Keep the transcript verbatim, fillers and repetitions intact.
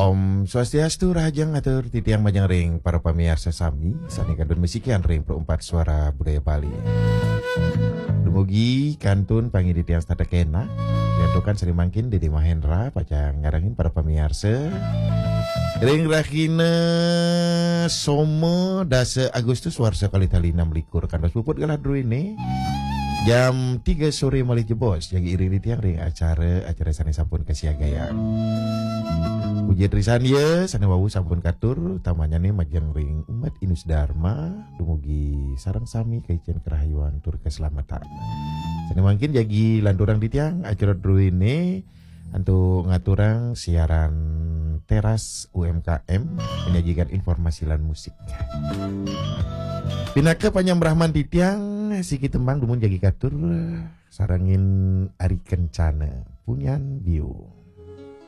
Om Swastiastu, rahajeng atur titiang majeng ring para pamiarsa sami sané kantun misikian ring Pro empat Suara Budaya Bali. Dumugi kantun pangi titiang setata kénak. Diantukan sané mangkin Dédé Mahendra pacang nyarengin para pamiarsa ring rahina Soma dasa Agustus warsa kalih tali enam likur, kantos puput galah druéné jam tiga soré malih jebos, jagi iring titiang ring acara-acara sané sampun kasiagayang. Puja Trisandya sané wau sampun katur, utamanyané majeng ring umat Inus Dharma, dumugi sareng sami kaicén karahayuan tur kaslametan. Sané mangkin jagi lanturang titiang acara druéné antuk ngaturang siaran teras U M K M, menyajikan informasi lan musik. Pinaka panyambrahman titiang, siki tembang dumun jagi katur, sarengin Ari Kencana, Punyan Bio.